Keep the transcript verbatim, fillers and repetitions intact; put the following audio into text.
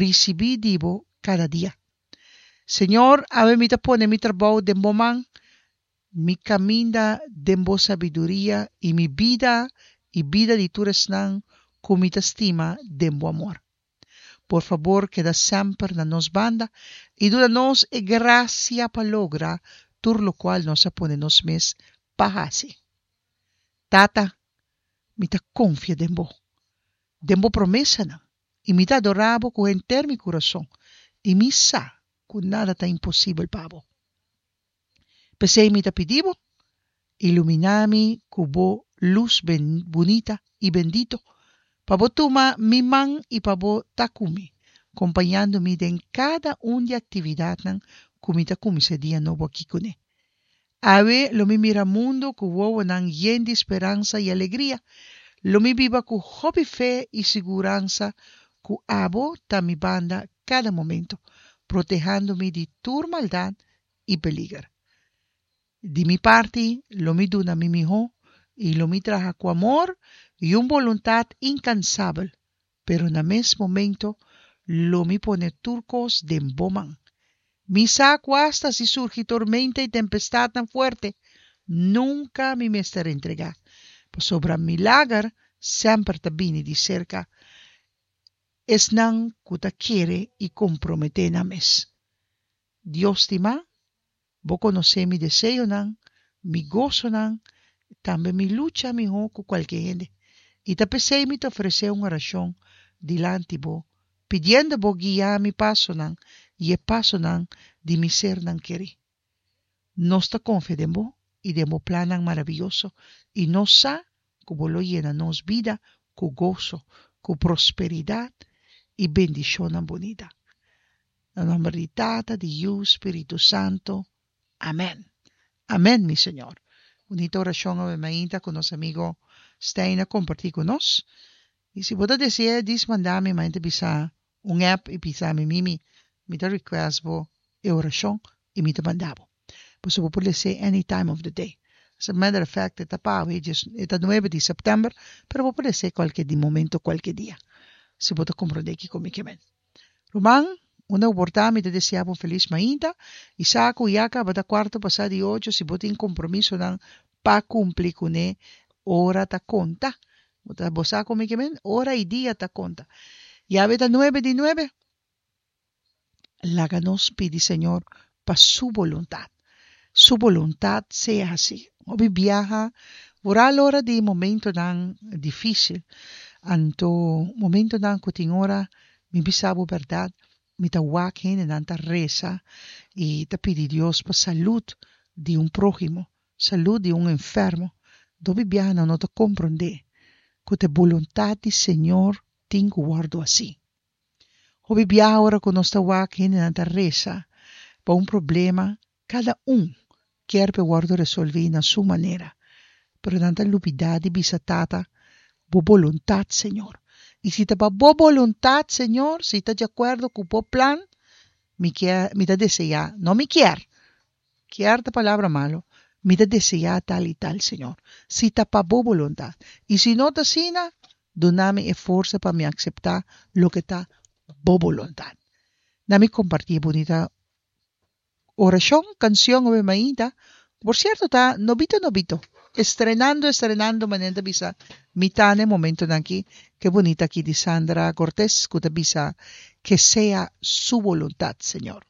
risibí di Bo kada dia. Señor, awe mi ta pone mi trabou den Bo man, mi kaminda den Bo sabiduria i mi bida i bida di tur esnan ku mi ta stima den Bo amor. Por fabor keda semper na nos banda i duna nos e grasia pa logra tur lokual nos a pone nos mes pa hasi. Tata, mi ta konfia den Bo, den Bo promesanan, i mi ta adorá Bo ku henter mi kurason, i mi sa ku nada ta imposibel pa Bo. P'esei mi ta pidi Bo, iluminá mi ku Bo lus bunita i bendito, pa Bo tuma mi man i pa Bo ta ku mi, kompañando mi den kada un di aktividatnan ku mi ta kuminsá e dia nobo akí kuné. Awe lo mi mira mundu ku wowonan yen di speransa i alegria. Lo mi biba ku hopi fe i siguransa ku Abo ta mi banda kada momento, protehando mi di tur maldat i peliger. Di mi parti, lo mi duna mi mihó i lo mi traha ku amor i un boluntat inkansabel, pero na mes momento lo mi pone tur kos den Bo man. Mi sa ku asta si surgi tormenta i tempestatnan fuerte, nunka mi mester entregá, pasobra milager semper ta bini di serka esnan ku ta kere i komprometé nan mes. Dios stimá, Bo konosé mi deseonan, mi gosonan, tambe mi lucha mihó ku kualke hende, i ta p'esei mi ta ofresé un orashon dilanti Bo, pidiendo Bo guia mi pasonan i e pasonan di mi sernan kerí. Nos ta konfia den Bo i den Bo plannan maravioso, i nos sa ku Bo lo yena nos bida ku goso, ku prosperidat i bendishonnan bunita. Na nòmber di Tata, di Yu, Spiritu Santu. Amèn. Amèn, mi Señor. Bunita orashon awe mainta ku nos amigo Stein a kompartí ku nos. I si bo ta deseá dis manda mi mainta bisa un app i bisa mi Mimi mi ta request bo e orashon i mi ta manda bo. Pasobra bo por les'é any time of the day. As a matter of fact e ta pa awe e ta nuebe di sèptèmber pero bo por les'é kualke di momento kualke dia si bo ta komprondé kiko mi ke men. Ruman, unda bo por ta mi ta desea bo un felis mainta i sa ku ya kaba ta kuarto pasá di ocho si bo tin kompromisonan pa kumpli kuné ora ta konta. Bo ta bo sa kon mi ke men? Ora i dia ta konta. Yawe ta nuebe di nuebe. Laga nos pidi Señor pa Su boluntat. Su boluntat sea hasí. Hopi biaha vooral ora di momentonan difícil. Anto momentonan ku tin ora mi bisa bo bèrdat, mi ta wak hendenan ta resa i ta pidi Dios pa salud di un próhimo, salud di un enfermo. Hopi biaha nan no ta komprondé ku ta e boluntat di Señor tin ku wòrdu hasí. Hopi biaha ora ku nos ta wak hendenan ta resa pa un problema, kada un kier pa e wòrdu resolví na su manera, pero nan ta lubidá di bisa Tata, Bo boluntat, Señor. I si ta pa Bo boluntat, Señor, si ta di akuerdo ku Bo plan, mi kier, mi ta deseá, no mi kier, kier ta palabra malu, mi ta deseá tal i tal, Señor, si ta pa Bo boluntat. I si no ta asina, duna mi e forsa pa mi akseptá loke ta Bo boluntat. Na mi kompartí e bunita orashon, kanshon awe mainta, ku por sierto ta nobito nobito, estrenando estrenando manera ta bisa mi ta na e momentonan aki, ke bunita aki di Sandra Cortes ku ta bisa, Que sea su voluntad, Señor.